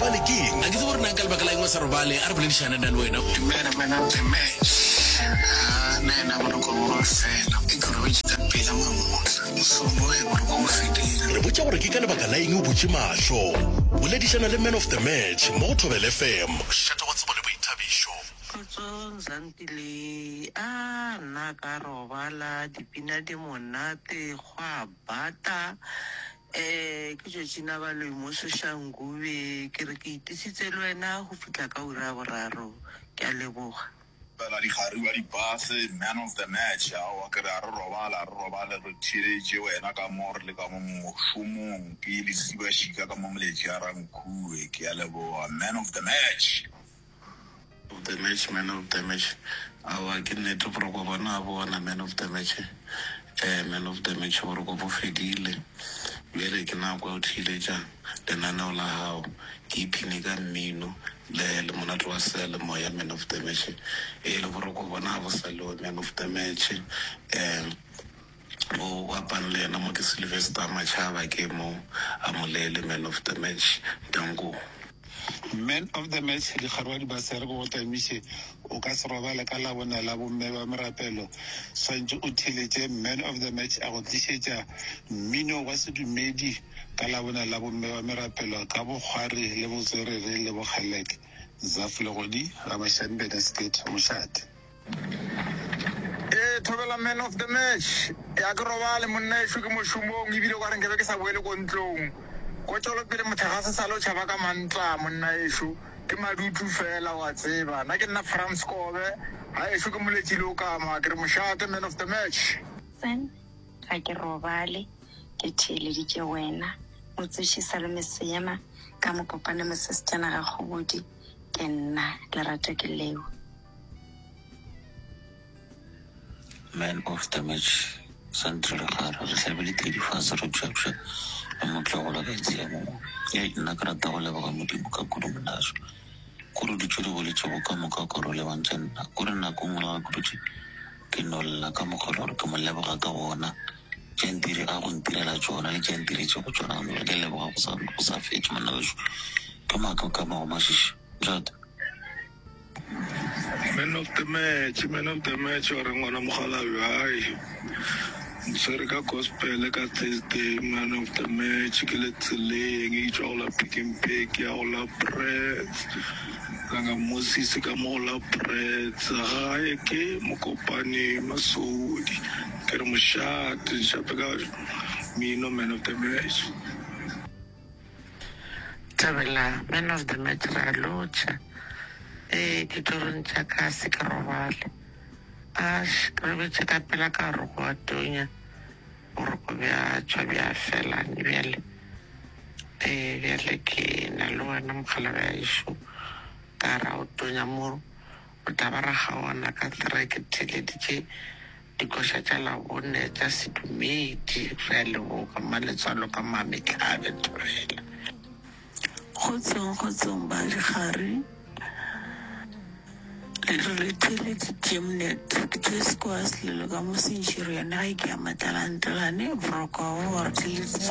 robale ke eng? A ke tsebe gore na ka lebaka la eng o sa robale. A re boledišane nna le wena. Dumela man of the match. Haa nna yena boroko bo ba fela. Ke robetše ka pela mamohla. Mošomo ge boroko bo fedile. Re botša gore ke ka lebaka la eng o butše mahlo. Boledišana le man of the match mo go Thobela FM. Mošate wa tsebo le boithabišo. Kgotsong Zantile, a nna ka robala, dipina di monate, gwa bata. Eh, ke Georgina Baloyi mo Soshanguve, ke re ke itisitse le wena go fihla ka ura ya boraro. Ke a leboga. Fela dikgari wa dipase, man of the match, aowa ke re a re robale, a re robale re theeletše wena ka mo re le ka mo mošomong, ke lesibašika ka mo Moletši a Rankuwe, ke a leboga, man of the match. Of the match, man of the match, aowa ke nnete boroko bona a bona man of the match, eh man of the match boroko bo fedile, bjale ke nako ya go theeletša lenaneo la gago, ke ipshine ka mmino le le monate wa seyalemoya man of the match, ee le boroko bona ga bo sa lewe man of the match, eh o bapang le yena mo ke Sylvester Machaba ke mo a Molele man of the match, danko. Man of the match Dikgarwa di ba sere ko go tamiše o ka se robale ka Labone la bomme ba merapelo swantše o theletše man of the match a go tlišetša mmino wa sedumedi ka Labone la bomme ba merapelo ka bokgwari le botswerere le bokgeleke Zaf Legodi Ramashanbene Skate Mošate. Ee, thobela man of the match. Ya ke robale monna ešo ke mošomong ebile o ka re nkabe ke sa boele ko ntlong. Ko tšwelopele mohlagase sale o tšhaba ka mantla monna ešo. Ke madutu fela wa tseba. Nna ke nna Frans Kobe, ga ešo ke Moletši Leokama. Ke re mošate man of the match. Sen, ga ke robale ke theeleditše wena. Motsoši Salome Seema ka Mokopane Mosesejana ga Kgobodi ke nna. Lerato ke leo. Man of the match Sandra Legare re hlabile thedi fase re pšapša le motlogolo ka tshiamo mo. Ei nna ke rata go leboga Modimo ka kudu monaso. Kore ditšo di boletšego ka moka kore o lebantše nna. Kore nako nngwe le ga ke dutše ke no lla ka mokgwa e le gore ke mo leboga ka gona tše ntire a go ntirela tšona le tše ntiretšego tšona ke leboga go sa go sa fetše monna wešo. Ke maaka ka mago mašiši. Ntate. Man of the match, man of the match wa re ngwana mokgalabje hai ntshwere ka gospel ka Thursday man of the match ke le tseleng e tšwa go la Pick n Pay ke ya go la Brits langa Moses ka mo go la Brits gae ke Mokopane Masodi ke re mošate nšape ka mino man of the match. Thabela man of the match re a lotšha ee ditorong tša ka se ke robale ash ke robetše ka pela ka gore go a tonya boroko bja tšwa bja fela bjale ee bjale ke na le wena mokgalabje wa ešo ka ra o tonya mo o tla ba ra kgaogana ka three ke theeleditše Dikoša tša Labone tša sedumedi. Re a leboga Mmaletswalo ka Mametlhabe Thobela. Kgotsong kgotsong ba dikgari le re le theeleditše Mnet ke Joyce kwa Selelo ka mo Centurion ga ke ya Matlalantlane boroko bo re theeleditše.